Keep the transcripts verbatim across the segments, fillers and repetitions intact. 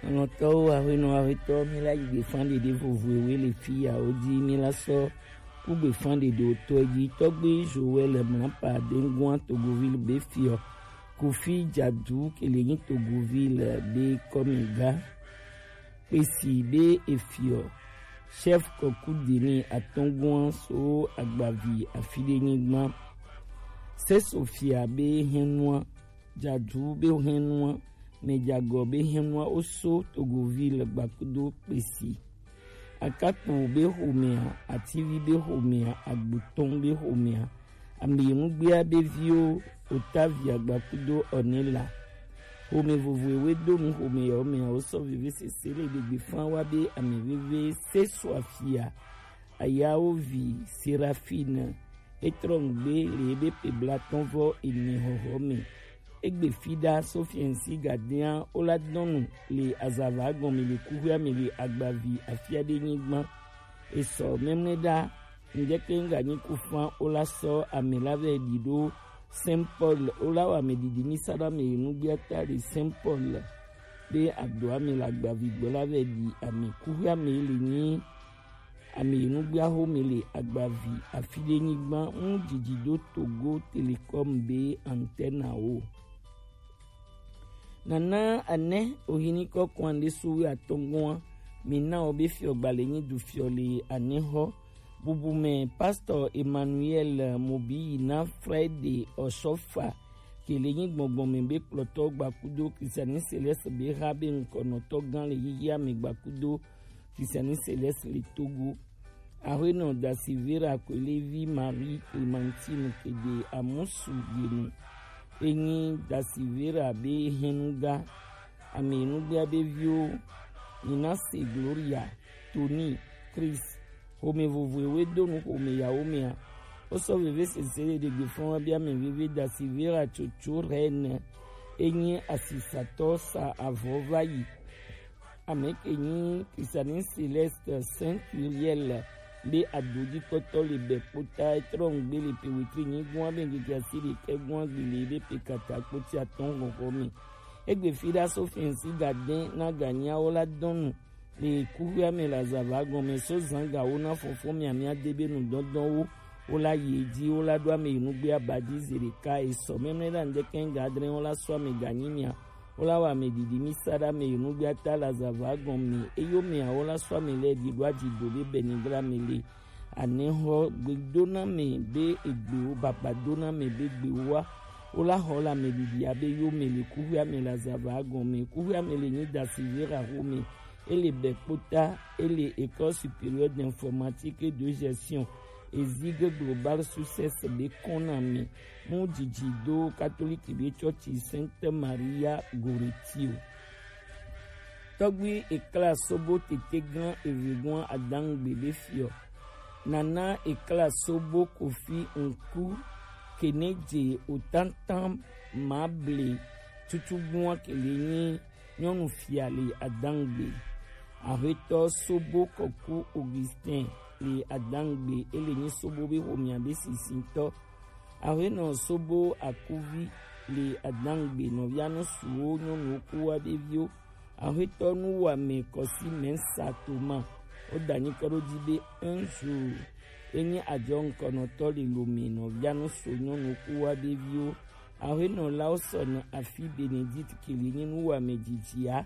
Alɔtɔwo, aƒenɔ, aƒetɔ, mi la yi gbefan ɖeɖe vovovoe le fi ya wo dzi, mi la sɔ ku gbefan ɖeɖe wotɔe dzi. Tɔgbe Joël Mlapa Dengoa Togoville be fiɔ, Kofi Jadu ke le nyi Togoville be kɔmega, kpesi be efiɔ, chef kɔku dini atɔngua so agbavi afi ɖe nyigba. Sesofia be hɛnua, Jadu be hɛnua, mɛ jagɔ be hɛnua wo so Togoville gbakudo kpesi. Akakpo be xomea, Ativi be xomea, Agbotɔn be xomea, Ameyenugbea be viwo, Otavia gbakudo Ɔnela. Xome vovoe we do nu xome yawo mea wo sɔ veve sese le ɖegbe fan wa be ame veve se so afia. Ayawo vi Serafine, etrɔ ŋgbe le ebe pe blatɔn vɔ ene xɔxɔ me. Egbe fi ɖa so fiɛnsi gadea wo la dɔnu le azava gɔme le kuxia me le agbavi afia ɖe nyigba. Esɔ mɛmlɛ ɖa, ŋdɛkɛ ŋga nyi ku fan wo la sɔ ame la vɛ ɖi ɖo Saint Paul, wo la wa ame ɖiɖi mi sa ɖa me yi nugbia ta le Saint Paul be adoa me le agbavi gbɔ la vɛ ɖi ame kuxia me le nyi ame yi nugbia xo me le agbavi afi ɖe nyigba ŋu didi do Togo Telecom be antenne wo. Nana anɛ ohini kɔkɔan ɖe so wi atɔngɔa, mi na wo be fiɔ gbalɛ nyi du fiɔ le anɛ xɔ. Bubu mɛ Pastor Emmanuel Mobi yi na Friday Oshofa ke le nyi gbɔngbɔn mɛ be kplɔtɔ gbakudo Christiani Celeste be xa be ŋkɔnɔtɔ gan le yiyia me gbakudo Christiani Celeste le Togo. Aƒenɔ Dasivera Kwelevi Marie Clementine Kede Amusu Genu. Enyi Dasivera be hɛnuga. Ame nugbea be viwo, Ninase Gloria, Tony, Chris. Xome vovoe we do nu xome yawo mea. Wo sɔ veve sese le ɖegbe fɔn wa be ame veve Dasivera tsotso Rennes. Enyi asisatɔ sa avɔ va yi. Ame ke nyi Christiani Celeste Saint Curiel be adodikpɔtɔ le bɛ kpota etrɔ ŋgbe le pe wetri nyi gua be ŋgege asi ɖekɛ gua gbe le be pe kata kpoti atɔn xɔxɔ me. Egbe fi ɖa so fiɛnsi ga dɛn na ga nyawo la dɔnu le kuxia me le azava gɔme so zan ga wo na fɔfɔ mia mia de be nu dɔndɔn wo. Wo la yi edzi, wo la ɖo ame yi nugbe abadi zi ɖeka esɔ mɛmlɛ ɖa ŋdɛkɛ ŋga adre wo la sɔ ame ganyi mia. Wo la wa ame ɖiɖi mi sa ɖa ame yi nugbe ata le azava gɔme eyo mia wo la sɔ ame lɛ ɖi ɖo adzi do be bɛni gra me le. Anexɔ gbedoname be egbewo, babadoname be gbewoa, wo la xɔ le ame ɖiɖia be yome le kuxuia me le azava gɔme. Kuxuia me le nyi Dasivera xome. Ele bɛ kpota, ele École supérieure d'informatique et de gestion, Ezig Global Success be kɔname. Mu dzidzi do Katoliki be tsɔtsi Sainte Maria Goretti o. Tɔgbi ekla sobo tete gan evegun adangbe be fiɔ. Nana ekla sobo Kofi Nku Kenedze otantan mable tutugbua kele nyi nyɔnu fia le adangbe. Ahetɔ sobo kɔku Augustin le adangbe, ele nyi sobo be xomia be sisitɔ. Ahenɔ sobo akuvi le adangbe nɔvia nu suwo nyɔnuwo ku wa be viwo. Ahetɔ nu wa me kɔsi mɛsa toma. O da nyikɔ ɖo dzi be un jour enyi adzɔ ŋkɔnɔtɔ le lome nɔvia nu so nyɔnu ku wa be viwo. Ahenɔ lawo sɔ na afi Benedict kele nyi nu wa me dzidzia.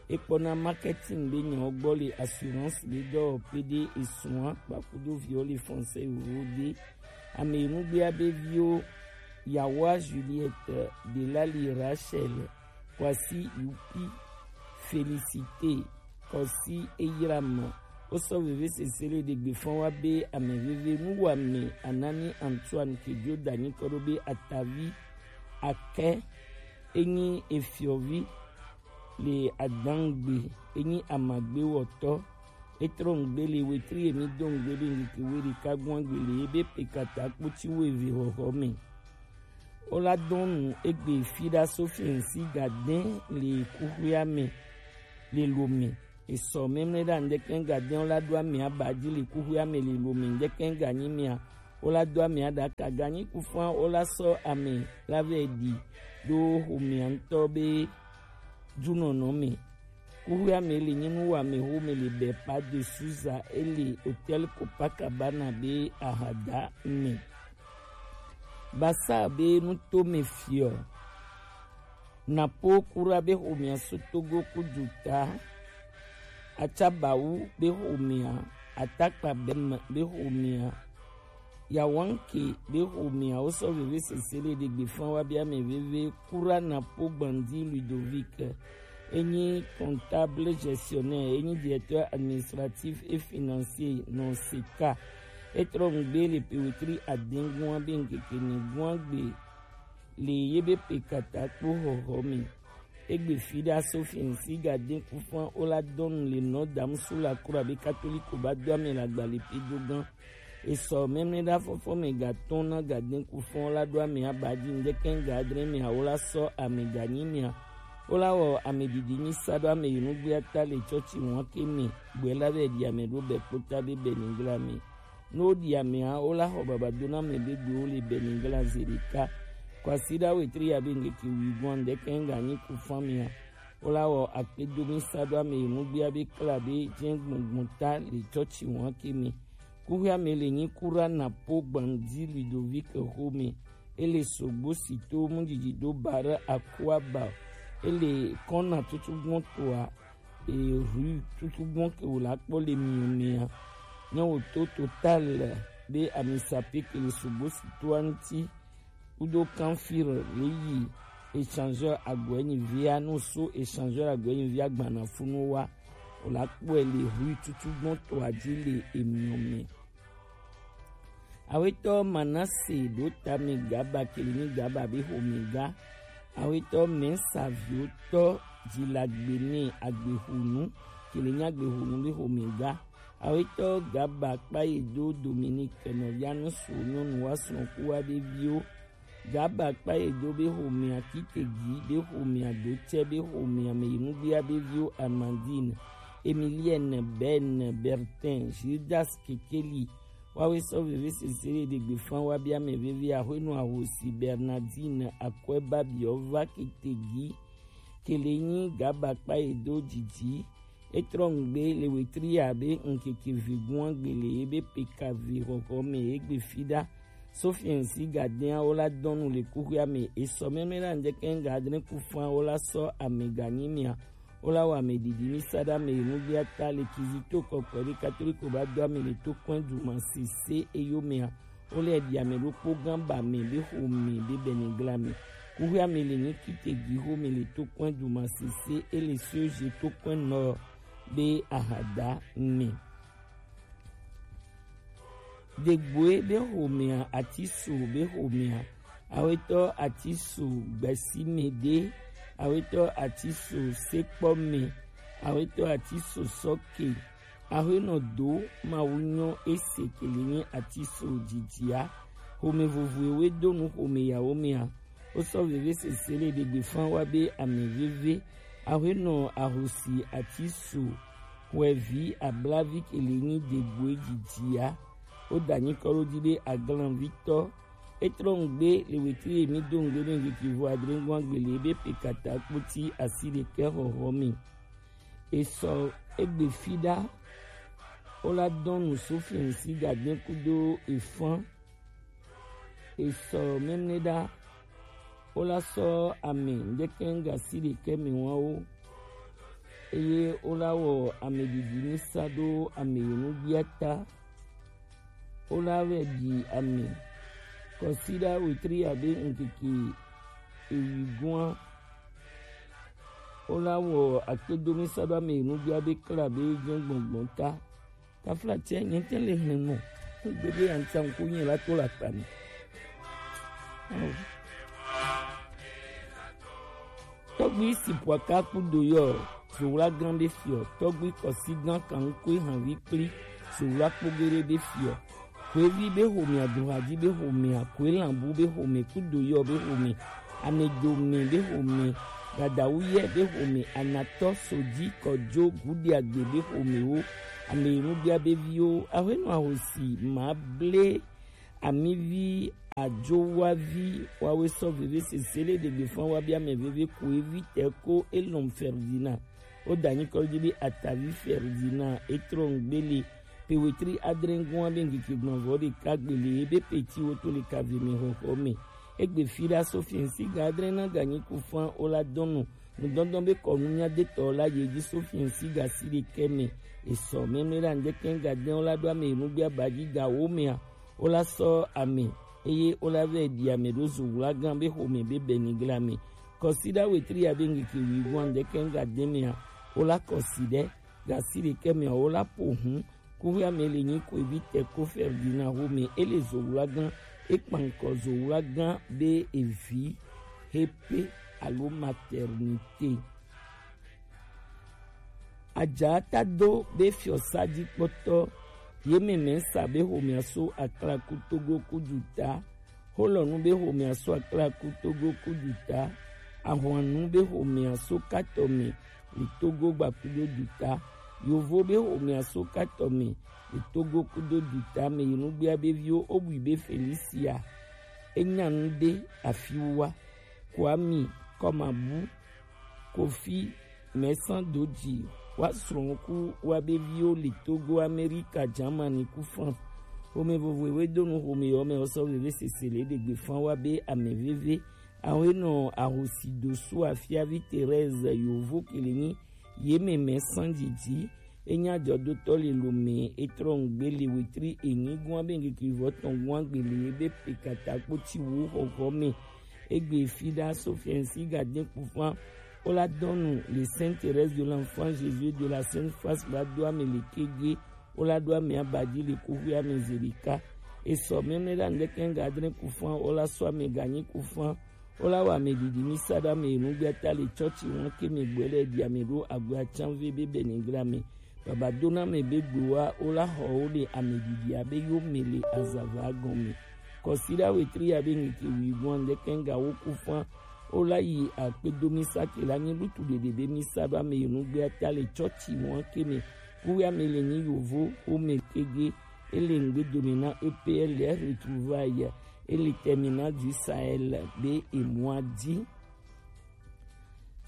Ekpɔna marketing be nyawo gbɔ le assurance be dɔwɔƒe ɖe esua kpakudo viwo le français ewo de. Ame nugbea be viwo Yawa Juliette, Delali Rachel, Kwasi Yupi, Félicité, Kɔsi Eyram. Wosɔ vevesese le ɖegbe fɔn wa be ame veve nuwame Anani Antoine Kejo da nyikɔ ɖo be atavi akɛ enyi efiɔvi le adangbe enyi amagbewɔtɔ. Etrɔ ŋgbe le wetri emi do ŋgbe be ŋkeke we ɖeka gbɔn gbe le ebe pekata kpotsi wo eve xɔxɔ me. Wola dɔn nu egbe fi ɖa so fiɛnsi gadɛn le kuxuia me le lome. Esɔ mɛmlɛ ɖa ŋdɛkɛ gadɛn wola ɖo ame aba dzi le kuxuia me le lome ŋdɛkɛ ganyi mea. Wola do ame aɖaka ganyi kufua wola sɔ ame la vɛ ɖi ɖo xomea ŋutɔ be dunɔnɔ me. Kuxuia me le nyi nu wa me ho me le Bepa de Souza e le Hôtel Copacabana be ahada me. Basa be nu to me fiɔ. Napo kura be homia so Togo kuduta. Acabawu be homia. Atakpa bem be homia. Yawanke be homia wo sɔ veve sesele de gbe fan wa bia me veve kura Napo Gbandi Ludovic. Enyi comptable gestionnaire, enyi directeur administratif et financier non seka. Etrɔ ngbe le pewetri adengun be nkeke ni gun agbe le ye be pe kata kpo hoho me. Egbe fi ɖa Sophie ŋsi ga de kufan o la dɔnu le nɔ damusu la kura be katoliko ba do ame la gba le pe do gan. Esɔ mɛmlɛ ɖa fɔfɔ me ga tɔn na ga de kufan o la do ame aba di ŋdɛkɛn ga adre me awo la sɔ ame ga nyi mia. O la wɔ ame didi nyi sa do ame yi nugbe ata le tsɔtsi ŋua ke me. Gbɛ la bɛ di ame ɖo bɛ kpota be bɛ ningla me. Ne woɖi amea, wola xɔ babadoname be gbewo le Benigla zi ɖeka. Kwasiɖa wetri ya be ŋkeke wuigoa ŋdɛkɛ ŋganyi ku famia. Wola wɔ akpedomi sa ɖo ame yi nugbea be kla be jɛn gbɔngbɔn ta le tsɔtsi wɔn ke me. Kuxia me le nyi kura na po gbandi Ludovic xome. Ele sogbo si to mu didi do bare akua ba. Ele kɔna tutu gbɔn toa. E rue tutu gbɔn ke wòle akpɔ le mio mea. Ne wòto Total be ami sapé ke le sogbo si toa ŋuti kudo Canfil le yi échangeur agɔɛ nyi via, no so échangeur agɔɛ nyi via gbana funu wa. Wòle akpɔe le rue tutu gbɔn toa dzi le emio me. Awetɔ Manase ɖo tame Gaba kele nyi Gaba be xome ga. Awetɔ Mɛsaviotɔ Dzilagbene Agbexunu kele nyi Agbexunu be xome ga. Awetɔ Gaba Kpayedo Dominique nɔvia nusu nyɔnu wa srɔ̃kuwa be viwo. Gaba Kpayedo be xomea Kitegi be xomea Dotsɛ be xomea me yi nugbea be viwo Amandine, Emilienne, Ben, Bertin, Gildas Kekeli, Wawe sɔ veve sesere ɖe gbe fan wa bia mɛ veve axwenu ahosi Bernardine Akwɛba biɔ va Kitegi kele nyi Gaba Kpayedo didi. Etrɔ ŋgbe le wetri ya be ŋkeke vigun agbe le ye be peka vi xɔxɔ me egbe fi ɖa. Sofiɛn si gadɛn awo la dɔnu le kuxia me esɔ mɛmɛ la ŋdɛkɛ ŋga adre ku fan awo la sɔ ame ganyi mia. Wola wɔ ame didi mi sa ɖe ame yi nugbea ta le Kizito kɔkɔe ɖe Katoliko ba do ame le to kɔn duma sese eyo mea. Wole ɖi ame ɖokpo gã ba me be xome be Benigla me. Kuxia me le nyi Kitegi xome le to kɔn duma sese ele Soje to kɔn nɔ be ahada me. Degboe be xomea, Atiso be xomea, awetɔ Atiso Gbɛsimede, awetɔ Atiso Sekpɔme, awetɔ Atiso Sɔke, axwenɔ do Mawu nyɔ ese kele nyi Atiso dzidzia, xome vovoe we do nu xome yawo mea, wosɔ veve sese le ɖe gbe fan wa be ame veve, axwenɔ ahosi Atiso, xɔevi ablavi kele nyi Degboe dzidzia. Woda nyikɔ ɖo dzi be aglanvitɔ. Etrɔ ŋgbe le wetri ye mi do ŋgbe be ŋgbe kivo adre ŋgɔn agbele be pe kata kpoti asi ɖekɛ xɔxɔ mi. Esɔ egbe fi ɖa. Wola dɔn nu Sofiɛn si gadɛn kudo efan. Esɔ mɛmlɛ ɖa. Wola sɔ ame ŋdɛkɛ ŋga si ɖekɛ mi wan wo. Eye wola wɔ ame didi mi sa ɖo ame yi nugbea ta. Wola vɛ ɖi ame. Kɔsiɖa wetri abe ŋkeke ewi gɔa. Wola wɔ akpedomi sa ɖo ame yi nugbea be kla be jɛn gbɔngbɔn ta. Taflatse nyɛtɛ le hlɛn mɔ. Gbede ya ŋtsa ŋku nyɛ la to la kpa mi. Tɔgbi Sipwaka kudo yɔ, Zowla gan be fiɔ, tɔgbi kɔsi gan kan ŋkue hanvi kpli, Zowla kpogere be fiɔ. Kwevi be xomea, Duhaji be xomea, Kwelanbu be xome, kudo yɔ be xome, Amedome be xome, Gadawuyɛ be xome, Anatɔ Soji Kɔjo Gudiagbe be xomewo, ame yi nugbea be viwo, axwenɔ ahosi ma ble amivi ajowavi wawe sɔ veve sese le ɖegbe fan wa bi ame veve Kwevi tɛ ko Elon Ferdinand. Wo da nyikɔ ji be Atavi Ferdinand e trɔ nugbe le pe wetri adrɛngua be ŋkeke gbɔnvɔ ɖeka gbele ye be peti wo to le kave mɛ xɔxɔ mɛ. Egbe fi ɖa so fiɛnsi ga adrɛ na ga nyi ku fan wo la dɔn nu nudɔndɔn be kɔnu nya de tɔ la ye ji so fiɛnsi ga si ɖekɛ mɛ. Esɔ mɛmɛ la ŋdɛkɛ ga dɛn wo la ɖo ame yi nugbe aba ji ga wo mɛ a. Wo la sɔ ame eye wo la vɛ ɖi ame ɖo zo wla gan be xomɛ be bɛ ni gla mɛ. Kɔsiɖa wetri ya be ŋkeke wi gɔn ŋdɛkɛ ga dɛn mɛ a. Wo la kɔsi ɖe ga si ɖekɛ mɛ a wo la po hun. Kuxi ame le nyi ko evi tɛ ko Ferdinand xomɛ e le zo wla gan e kpankɔ zo wla gan be evi hepe alo maternité. Ajatado be fiɔsa ji kpɔtɔ ye mɛmɛ sa be xomɛ so aklaku togo ku juta. Xolɔnu be xomɛ so aklaku togo ku juta. Ahwanu be xomɛ so katɔ mɛ le togo gbakudo juta. Yovo be xomɛ so katɔ mɛ le togo kudo juta mɛ yi nugbea be viwo obui be Felicia. Enya nu de afiwa Kwami Kɔmabu Kofi mɛsan doji wa srɔ̃ ku wa be viwo le Togo, Amerika, Germany ku France. Xomɛ vovo ewe donu xomɛ yɔ mɛ ɔsɔ veve sese le ɖegbe fan wa be ame veve. Awe nɔ ahosi dosu afiavi Thérèse yovo kele nyi ye mɛ mɛsan jiji. Enya jɔdotɔ le lome etrɔ ŋgbe le wetri enyi gua be ŋkeke vɔ tɔn gua gbele ye be pe kata kpoti wu xɔxɔ mɛ. Egbe fi ɖa so fiɛnsi ga de kpufan. Wo la dɔnu le Sainte Thérèse de l'Enfant Jésus de la Sainte Face ba do ame le kege. Wo la ɖo ame aba ji le kuxi ame ze ɖeka. Esɔ mɛmɛ ɖa ŋdɛkɛ ga adrɛ kufan wo la sɔ ame ganyi kufan. Wo la wa ame ɖiɖi mi sa ɖo ame yi nugbe ata le tsɔtsi ŋu ke mɛ gbɛ lɛ ɖi ame ɖo agbe atsanve be bɛ ni gla mɛ. Baba do na ame be gbe wa wo la xɔ wo le ame ɖiɖi abe yo mɛ le azava gɔn mɛ. Kɔsiɖa wetri ya be ŋkeke wi gɔn ŋdɛkɛ ga wo kufan. Wo la yi akpedo mi sa ke la nyi lutu ɖeɖe be mi sa ɖo ame yi nugbe ata le tsɔtsi ŋu ke mɛ. Kuya me le nyi yovo wo me kege. Ele ŋgbe dome na E P L retrouvaille. Ele terminal du Sahel be emua di.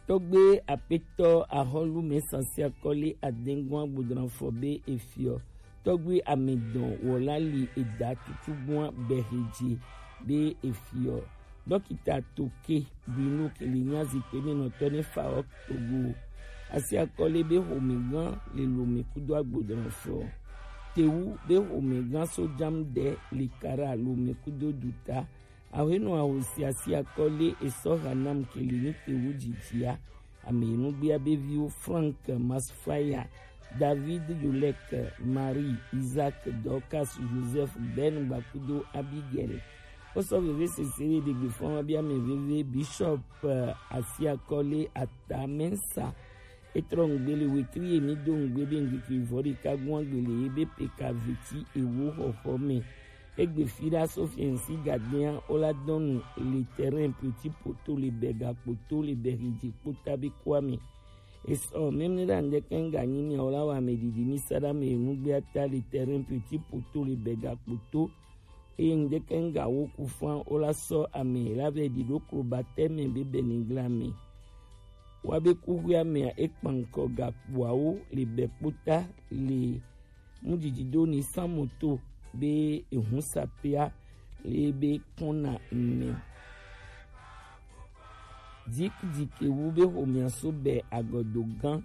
Tɔgbe apetɔ ahɔlu me sasia kɔli adengua gbodranfɔ be efiɔ. Tɔgbe amedɔn wɔla li eda tutugbua bɛhedze be efiɔ. Dɔkita Toke Bruno ke le nya zikpe me nɔtɔ ne fa ɔ togo. Asi akɔle be xomegã le lome kudo agbodrɔfɔ. Tewu be xomegã so jam de le kara lome kudo duta. Awenɔ ahosi asi akɔle esɔ hanam ke le ni tewu jijia. Ame yi nugbea be viwo Frank Masfaya, David Yolek, Marie, Isaac, Dorcas, Joseph, Ben Bakudo, Abigail. Wosɔ veve sese ɖe ɖegbe fɔn wa bia ame veve Bishop eh, Asiakɔle Atamensa. Etrɔ ŋgbe le wetri ye mi do ŋgbe be ŋgbe vɔ ɖeka gún agbele ye be peka veti ewo xɔxɔ me. Egbe fi ɖa so fiɛnsi gadea wo la dɔnu le terrain petit poto le bɛ gakpoto le bɛ hidzi kpota be kua me. Esɔ mɛmɛ ɖa ŋdɛkɛ ŋga nyi mi wo la wa ame ɖiɖi mi sa ɖa me nugbe ata le terrain petit poto le bɛ gakpoto. Eye ŋdɛkɛ ŋga wo ku fan wo la sɔ ame la vɛ ɖi ɖo klo batɛ me be bɛ ni gla me. Wa be kuxuia mea ekpankɔ gakpoawo le bɛ kpota le Mujiji do ni san moto be ehun sapia le be kɔna me. Dikidiki wu be xomea so bɛ agɔdo gan.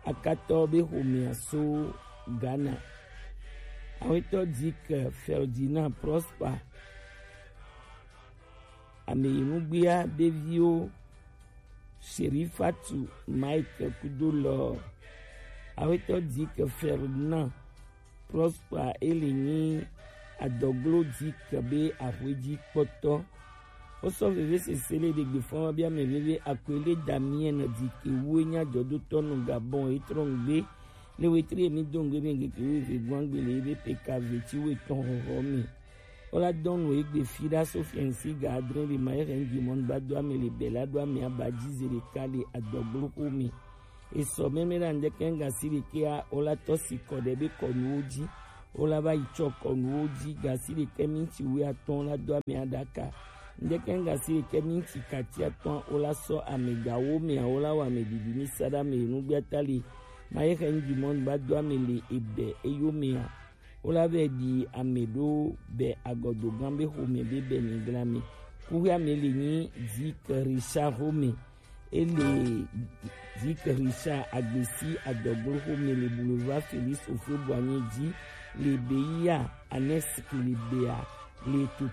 Akatɔ be xomea so Ghana. Awetɔ Dik Ferdinand Prosper. Ame yi nugbea be viwo Sherifatu Mike kudo lɔ. Awetɔ Dik Ferdinand Prosper ele nyi adɔglo Dik be axweji kpɔtɔ. Wosɔ veve sese le ɖegbe fɔn wa bia mɛ veve akwele Damien Dik wu enya jɔdotɔ nu Gabon etrɔ ŋgbe. Le wetri emi do ŋgbe be ŋgeke wo eve gbɔn gbe le ebe peka veti wo etɔn xɔxɔ mi. Wo la dɔn nu egbe fi ɖa so fiɛnsi ga adre le ma ere ŋgbe mɔnu ba do ame le bɛ la do ame aba ji ze ɖeka le adɔglo xo mi. Esɔ mɛmɛ ɖa ŋdɛkɛ ŋga si ɖekea wo la tɔ si kɔ ɖe be kɔnuwo ji. Wo la va yi tsɔ kɔnuwo ji ga si ɖekɛ minti wu atɔn la do ame aɖaka. Ndeke ngasi ke mi ti katia tɔn o la sɔ ame ga wo me a o la wa me didi mi sada me nu gbia ta le. Ma ye ke ndu mo ba do ame le ebe e yo me a. O la be di ame do be agodo gan be ho me be be ni gla me. Ku ya me le ni di ke risa ho me. E le di ke risa agbesi adoglo ho me le boulevard Félix Houphouët-Boigny di le be ya anes ke le be a le to